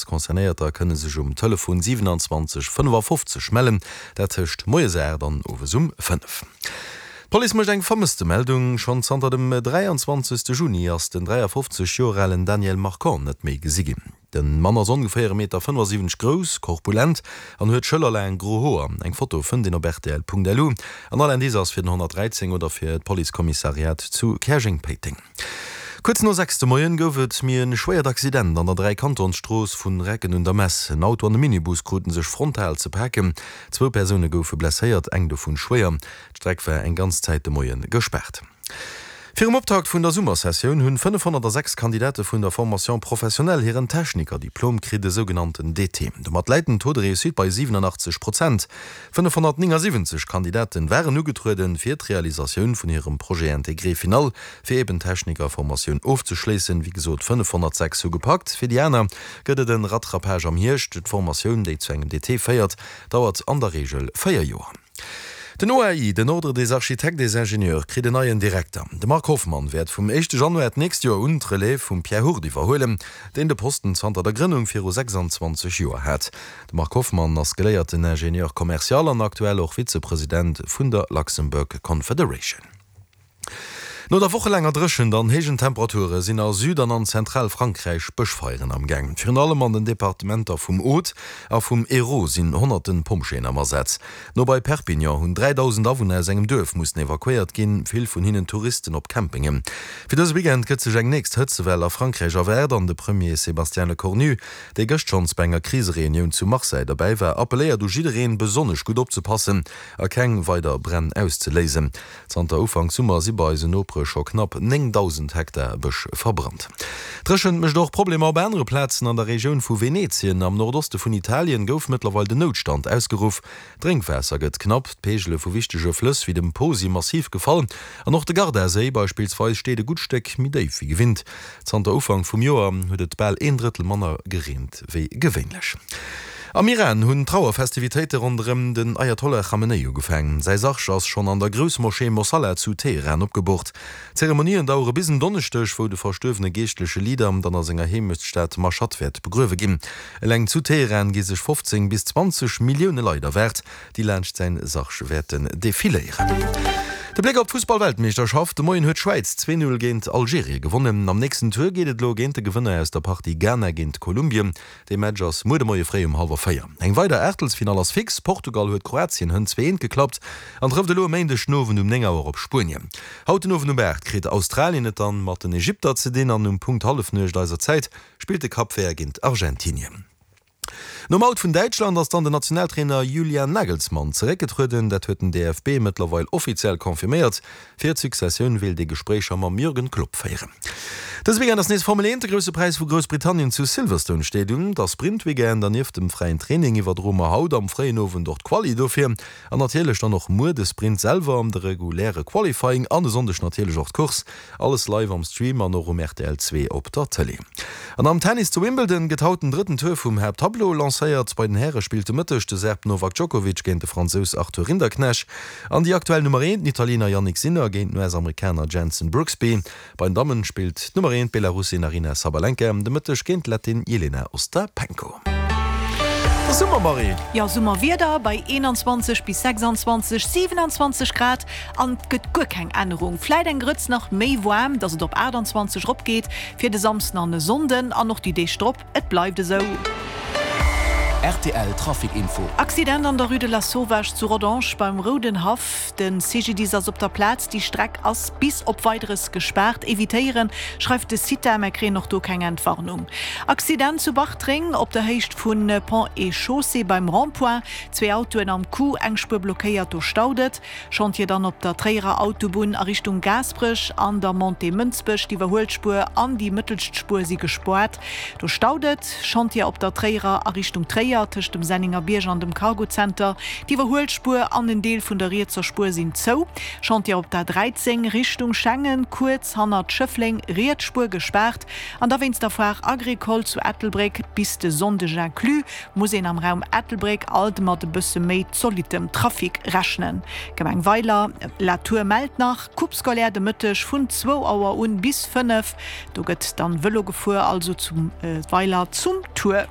Concernéierter kënne sech um Telefon 27 55 mellen, dat tëscht moies 8 an owes um 5. D'Police mécht eng Vermësstemeldung. Schonn zanter dem 23 Juni ass den 53 Joer alen Daniel Marcon net méi gesi ginn. De Mann ass ongeféier e Meter 75 grouss, korpulent an huet schëllerlaang gro Hoer. Eng Foto fënnt een op rtl.lu an all Indice ass fir den 113 oder fir d'Policekommissariat zu Käerjeng-Péiteng. Kuerz no 6 de Moien gouf et méi e schwéiert Accident an der Dräikantonsstrooss vun Recken un der Mess. En Auto an e Minibus kruten sech frontal ze paken. Zwou Persoune goufe blesséiert, eng dovun schwéier. D'Streck war eng ganz Zäit de Moie gespaart. Virum Optakt vun der Summersessioun hunn 506 Kandidate vun der Formation professionnelle hiren Technikerdiplom kritt, e sougenannten DT. Domat läit den Taux de réussite bei 87 Prozent. 579 Kandidaten waren ugetrueden, fir d'Realisatioun vun hirem Projet intégré final fir eben d'Technikerformatioun ofzeschléissen. Wéi gesot, 506 hu gepackt. Fir déi aner gëtt et en Rattrapage am Hierscht. D'Formatioun, déi zu engem DT féiert, dauert an der Reegel 4 Joer. Den OAI, den Ordre des Architectes et Ingénieurs, kritt en neien Direkter. De Marc Hoffmann wäert vum éischte Januar d'nächst Joer un d'Relève vum Pierre Hurt iwwerhuelen, deen de Posten zanter der Grënnung viru 26 Joer hat. De Marc Hoffmann ass geléierten Ingénieur commercial an aktuell och Vizepresident vun der Luxembourg Confederation. No der wochelaanger Dréchent an héijen Temperature sinn a Süd an an Zentralfrankräich Bëschfeieren am Gaang. Virun allem an den Departementer vum Aude a vum Hérault sinn honnerten Pompjeeën am Asaz. No bei Perpignan hunn 3.000 Awunner aus engem Duerf mussen evakuéiert ginn, vill vun hinnen Touristen op Campingen. Fir dëse Weekend gëtt sech eng nächst Hëtzewell a Frankräich erwaart an de Premier Sébastien Lecornu, dee gëscht schonns bei enger Krisereunioun zu Marseille derbäi war, appelléiert u jiddereen, besonnesch gutt opzepassen a keng weider Bränn auszeléisen. Zanter Ufank Summer si bei eisen Nopere scho knapp 9.000 Hektar Bësch verbrannt. D'Dréchent mécht och Problemer op anere Plazen. An der Regioun vu Venetien am Nordoste vun Italien gouf mëttlerweil den Noutstand ausgeruff. D'Drénkwaasser gëtt knapp, d'Peegele vu wichtege Flëss wéi dem Po si massiv gefall an och de Gardaséi beispillsweis steet e gutt Stéck méi déif wéi gewinnt. Zanter Ufank vum Joer huet et bal een Drëttel manner gereent wéi gewéinlech. Am Iran hunn d'Trauerfestivitéite ronderëm den Ayatollah Khamenei ugefaangen. Säi Sarg ass schonn an der Groussmoschee Mossalla zu Teheran opgeboort. D'Zeremonien dauere bis en Donneschdeg, wou de verstuerwene geeschtleche Leader dann a senger Heemechtsstad Mashhad wäert begruewe ginn. Eleng zu Teheran gi sech 15 bis 20 Millioune Leit erwaart, déi laanscht säin Sarg wäerten defiléieren. De Bléck op d'Fussball-Weltmeeschterschaft, De Moien huet d'Schwäiz 2, 0 géint Algerien gewonnen. Am nächsten Tour geet et elo géint de Gewënner aus der Partie Ghana géint Kolumbien. Dee Match ass muer de Moie fréi um hallwer 4. Eng weider Aachtelsfinall ass fix, Portugal huet Kroatien hënt 2, 1 geklappt an trëfft elo e Méindeg den Owend um 9 Auer op Spuenien. Haut den Owend um 8 kritt Australien et dann mat den Ägypter ze dinn an um Punkt Hallefnuecht eiser Zäit spillt de Cap Vert géint Argentinien. Nom Out vun Däitschland ass dann den Nationaltrainer Julian Nagelsmann zeréckgetrueden. Dat huet den DFB mëttlerweil offiziell confirméiert. Fir d'Successioun wéilt ee Gespréicher mam Jürgen Klopp féieren. Dëse Weekend ass nees Formel 1. De Grousse Präis vu Groussbritannien zu Silverstone steet un. Et ass Sprint-Weekend an nieft dem fräien Training iwwerdroe mer haut am fréien Owend och d'Quali dofir. An natierlech dann och muer de Sprint selwer, de reguläre Qualifying an e Sonndeg natierlech och d'Course. Alles live am Stream an och um rtl 2 op der Tëlee. An am Tennis zu Wimbledon gëtt haut den drëtten Tour vum Haapttableau lancéiert. Bei den Häre spillt de Mëtteg de Serb Novak Djokovic géint de Fransous Arthur Rinderknecht an déi aktuell Nummer 1, den Italiener Jannik Sinner géint den US-Amerikaner Jenson Brooksby. Bei den Dammen spillt d'Nummer 1, d'Belarussin Aryna Sabalenka, de Mëtteg géint d'Lettin Jelena Ostapenko. Et ass Summer, Marie! Jo, Summerwieder bei 21 bis 26, 27 Grad an et gëtt guer keng Ännerung. Vläit eng Grëtz nach méi waarm, dass et op 28 eropgeet fir de Samsden an e Sonnden an och déi Deeg drop. Et bleift esou. Rtl Trafic Info. Accident an der Rue de la Sauvage zu Rodange beim Roudenhaff. De CGDIS ass op der Plaz. Déi Streck ass bis op Weideres gespaart. Evitéieren, schreift de CITA. Mä kréien och do keng Entwarnung. Accident zu Bartreng op der Héicht vu Ponts et Chaussées beim Rond-point. Zwee Autoen am Coup, eng Spuer blockéiert, do staut et. Chantier dann op der Tréierer Autobunn a Richtung Gaasperech an der Montée Mënsbech. D'Iwwerhuelspuer an déi mëttelscht Spuer si gespoart. Do staut et. Chantier op der Tréierer a Richtung Tréier tëscht dem Senningerbierg an dem Cargozenter. D'Iwwerhuelspuer an en Deel vun der rietser Spuer sinn zou. Chantier op der 13 Richtung Schengen, kuerz hannert Schëffleng, riets Spuer gespaart. An da wéinst der Foire Agricole zu Ettelbréck bis de Sonndeg inclus. Muss een am Raum Ettelbréck alt mat e bësse méi zolittem Trafic rechnen. Gemeng Weiler la Tour mellt nach, Coupe scolaire de Mëtteg vun zwou Auer un bis 5. Do gëtt dann Vëlo gefuer, also zu Weiler zum Tour.